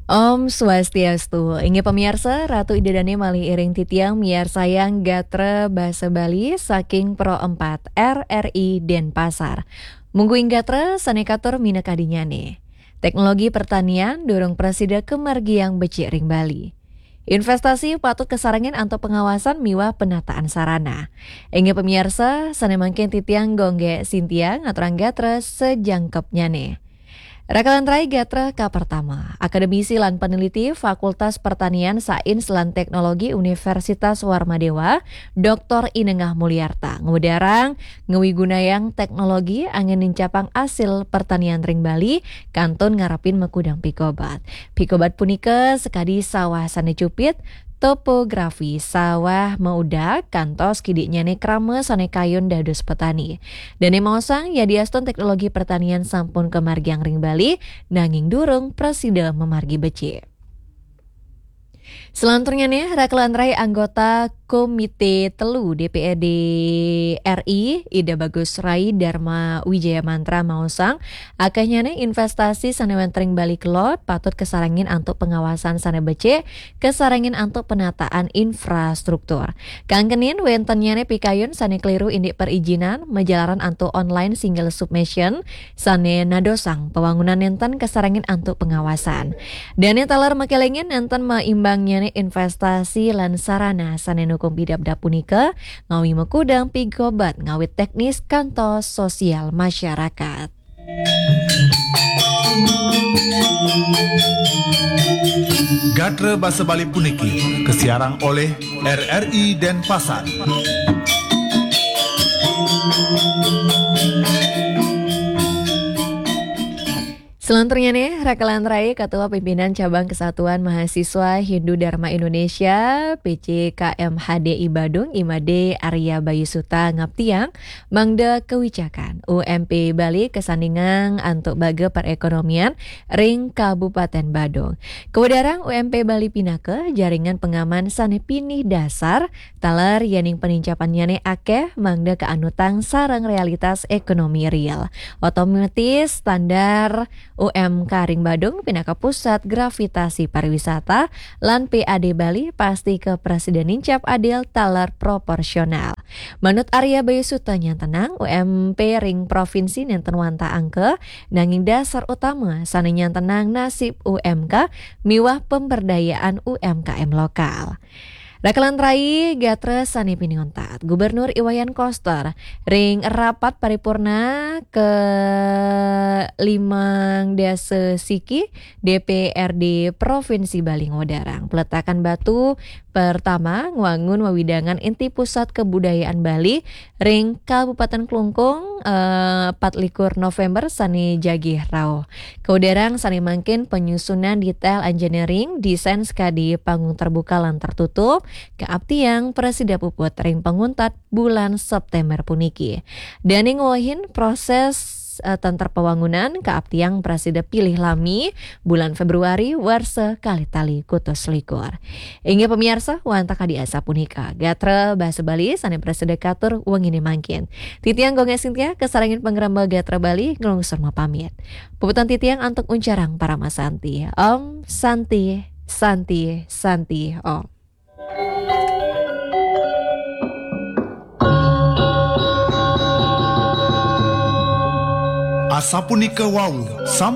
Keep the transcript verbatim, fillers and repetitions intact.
Om Swastiastu. Inggih pamiarsa, Ratu Ida Dane malih iring titiang miarsayang gatra basa Bali saking Pro empat R R I Denpasar. Mungguing gatra sane katur minakadinyane. Teknologi pertanian durung prasida kamargiang becik ring Bali. Investasi patut kasarengin antuk pengawasan miwah penataan sarana. Inggih pamiarsa, sane mangkin titiang Gongge Sintia ngaturang gatra sajangkepnyane. Rakalan rai gatra kapertama, akademisi lan peneliti Fakultas Pertanian, Sains, lan Teknologi Universitas Warmadewa, Doktor Inengah Mulyarta, ngwedarang ngawigunayang teknologi anggen nincapang asil pertanian ring Bali, kantun ngarepin makudang pikobat. Pikobat punika sakadi sawah sane cupit, topografi sawah maudag, kantos kidiknyane krama sane kayun dados petani. Dane maosang, yadiastun teknologi pertanian sampun kamargiang ring Bali, nanging durung prasida mamargi becik. Selanturnyane, rakalan rai anggota Komite Telu D P R D R I, Ida Bagus Rai Dharma Wijaya Mantra maosang, akehnyane investasi sane wenten ring Bali kelod patut kasarengin antuk pengawasan sane becik, kasarengin antuk penataan infrastruktur. Kangkenin wentennyane pikayun sane keliru indik perizinan, majalaran antuk online single submission, sane nadosang pawangunan nenten kasarengin antuk pengawasan. Dane taler makelengin nenten maimbangnyane investasi lan sarana sane nukung pidabdab punika, ngawi makudang pikobat ngawit teknis kantos sosial masyarakat. Gatra basa Bali puniki kasiarang oleh R R I Denpasar. Selanturnyane, rakalan rai Ketua Pimpinan Cabang Kesatuan Mahasiswa Hindu Dharma Indonesia, P C K M H D I Badung, I Made Arya Bayu Suta ngaptiang, mangda kewicakan U M P Bali kasandingang antuk baga perekonomian ring Kabupaten Badung. Kawedarang U M P Bali pinaka jaringan pangaman sane pinih dasar taler yening panincapannyane akeh mangda kaanutang sareng realitas ekonomi real. Otomatis standar U M K ring Badung pinaka pusat gravitasi pariwisata lan P A D Bali pasti kaprasida nincap adil taler proporsional. Manut Arya Bayu Suta nyantenang, U M P ring provinsi nenten wantah angka, nanging dasar utama sane nyantenang nasib U M K miwah pemberdayaan U M K M lokal. Rakalan rai gatra sane pinih untat, Gubernur I Wayan Koster ring rapat paripurna ke limang dasa siki D P R D Provinsi Bali ngwedarang peletakan batu pertama ngwangun wewidangan inti pusat kebudayaan Bali ring Kabupaten Klungkung, eh, patlikur November sane jagi rauh. Kawedarang sane mangkin penyusunan detail engineering, desain skadi panggung terbuka lan tertutup, kaaptiang prasida puput ring panguntat bulan September puniki. Dane ngwehin proses, eh, tenter pawangunan, kaaptiang prasida pilih lami bulan Februari warsa kalih tali kutus likur. Inggih pamiarsa, wantah kadi asapunika gatra basa Bali sane prasida katur wengine mangkin. Titiang Gongge Sintia kasarengin pangremba gatra Bali nglungsur mapamit. Puputang titiang antuk uncarang parama santi. Om Santi, Santi, Santi, Om. Asapunika wau, sam-